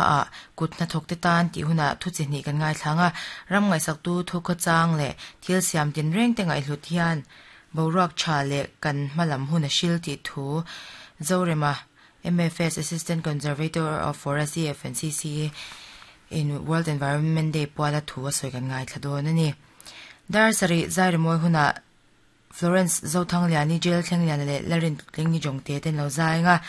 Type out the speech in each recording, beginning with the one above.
Ah kut hnathawk te tan tih hunah thu chi hnih kan ngaithlang a, ram ngaihsaktu thu khawchang leh thil siam tinreng te ngaihhlut hian boruak tha leh kan hma lam hun a hril tih thu Zorema, MFS Assistant Conservator of Forest EFNCC in World Environment Day puala thu a sawi kan ngaithla dawn a ni. Dar sarih zairimawi hunah Florence Zothangliani, Jail Thlengliana leh Larin Tlingi Jongte ten lo zai anga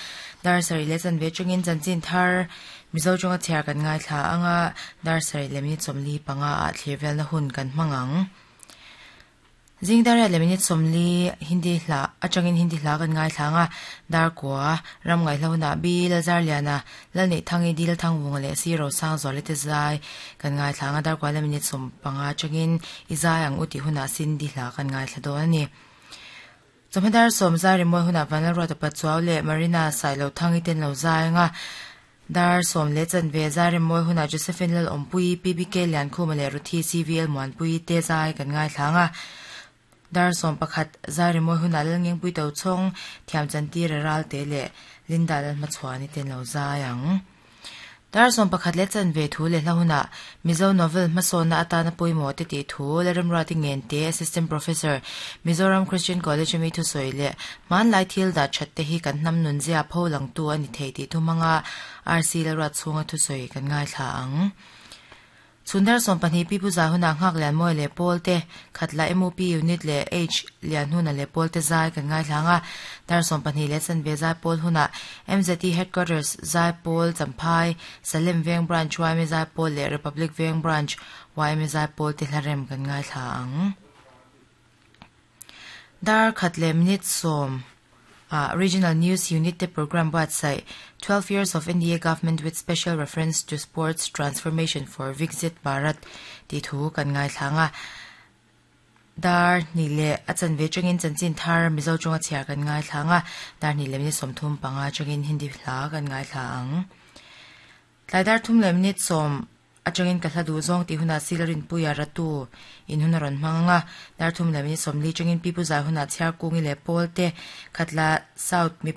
dar sarih leh chanve atangin chanchin thar Mizo tawnga chhiar kan ngaithla anga dar sarih leh minute 45 ah thlir velna hun kan hmang ang. Zing dar riat leh minute 40 Hindi hla atangin Hindi hla kan ngaithla anga dar kua ram ngaihhlo hunah Bi Lalzarliana, Lalneihthangi, Dil Thangvunga leh Si Rosangzuali te zai kan ngaithla anga dar kua leh minute 15 atangin I zai ang u tih hunah Cindy hla kan ngaithla dawn a ni. Chawhma dar 10 zai rimawi hunah Vanlalruata Pachuau leh Marina Sailohthangi ten lo zai anga dar 10 leh chanve zai rimawi hunah Josephine Lalawmpuii, PBK Liankhuma leh Ruthi CVL Muanpuii te zai kan ngaithla anga dar 11 zai rimawi hunah Lalngengpui Tochhawng, Thiamchantir Ralte leh Linda Lalhmachhuani ten lo zai ang. Dar 11 leh chanve thu leh hla hunah Mizo novel hmasawnna atana pawimawh te tih thu Lalremruati Ngente Assistant Professor Mizoram Christian College ami thusawi leh hmanlai thil dah that te hi kan hnam nun zia pho langtu a ni thei tih thu hmanga RC Lalruat chhunga thusawi kan ngaithla ang. Chhun dar 12 pi pu zai hunah nghak lian mawi leh pawl te khatla MOP unit leh H lian huna leh pawl te zai kan ngaithla anga dar 12 leh chanve zai pawl hunah MZT Headquarters zai pawl Champhai Salem Veng Branch YMA zai pawl leh Republic Veng Branch YMA zai pawl te hlarem kan ngaithla ang. Dar khat leh minute 10 Regional News Unit te program website 12 Years of NDA Government with Special Reference to Sports Transformation for Viksit Bharat tih thu kan ngaithla anga dar hnih leh a chanve atangin chanchin thar Mizo tawnga chhiar kan ngaithla anga dar hnih leh minute 35 atangin Hindi hla kan ngaithla ang. Tlai dar 3 leh minute 10 atangin ka hla duh zawng tih hunah Silarin Puia Ratu in hun a rawn hmang anga dar 3 leh minute 40 atangin pi pu zai hunah chhiar kungi leh pawl te khatla South mi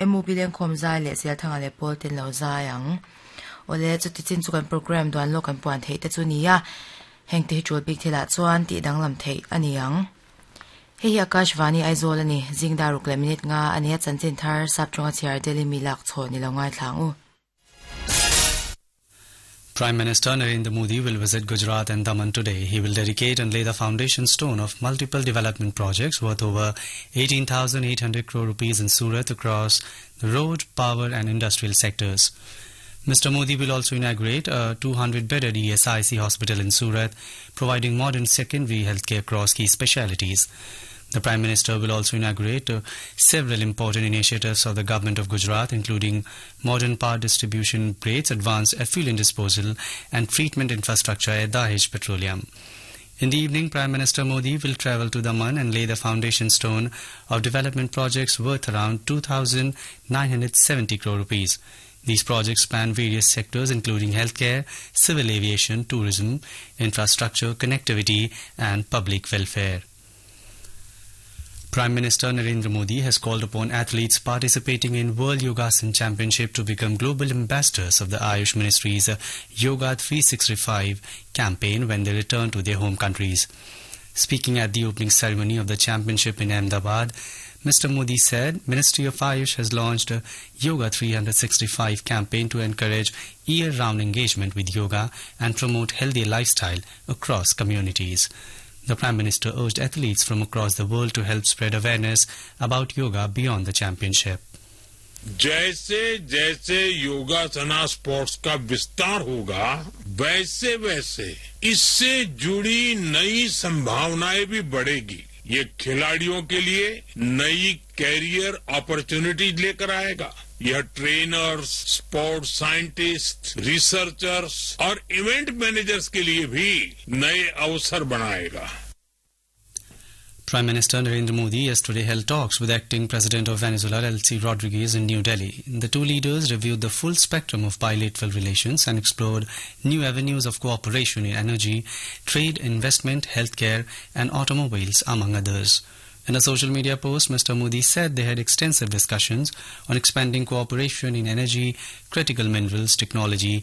MUP lengkhawm zai leh Sialthanga leh pawl ten lo zai ang. Awle chuti chin chu kan program duan lawk kan puan theih te chu nia heng te hi tul bik thilah chuan tih danglam theih a ni ang. Hei hi Akashvani Aizawl a ni zing dar ruk leh minute nga a nia chanchin thar sap tawnga chhiar Delhi mi lak chhaw ni lo ngaithla ang u. Prime Minister Narendra Modi will visit Gujarat and Daman today. He will dedicate and lay the foundation stone of multiple development projects worth over 18,800 crore rupees in Surat across the road, power and industrial sectors. Mr. Modi will also inaugurate a 200-bedded ESIC hospital in Surat, providing modern secondary healthcare across key specialities. The Prime Minister will also inaugurate several important initiatives of the Government of Gujarat, including modern power distribution grids, advanced effluent disposal and treatment infrastructure at Dahej Petroleum. In the evening, Prime Minister Modi will travel to Daman and lay the foundation stone of development projects worth around 2,970 crore rupees. These projects span various sectors including healthcare, civil aviation, tourism, infrastructure, connectivity and public welfare. Prime Minister Narendra Modi has called upon athletes participating in World Yogasan Championship to become global ambassadors of the Ayush Ministry's Yoga 365 campaign when they return to their home countries. Speaking at the opening ceremony of the championship in Ahmedabad, Mr. Modi said Ministry of Ayush has launched a Yoga 365 campaign to encourage year-round engagement with yoga and promote healthy lifestyle across communities. The Prime Minister urged athletes from across the world to help spread awareness about yoga beyond the championship. जैसे जैसे योगासना sports का विस्तार होगा, वैसे वैसे इससे जुड़ी नई संभावनाएं भी बढ़ेगी। ये खिलाड़ियों के लिए नई कैरियर अपॉर्चुनिटीज लेकर आएगा। यह trainers, sports scientist, researchers और इवेंट मैनेजर्स के लिए भी नए अवसर बनाएगा। Prime Minister Narendra Modi yesterday held talks with acting President of Venezuela Delcy Rodriguez in New Delhi. The two leaders reviewed the full spectrum of bilateral relations and explored new avenues of cooperation in energy, trade, investment, healthcare and automobiles, among others. In a social media post, Mr. Modi said they had extensive discussions on expanding cooperation in energy, critical minerals, technology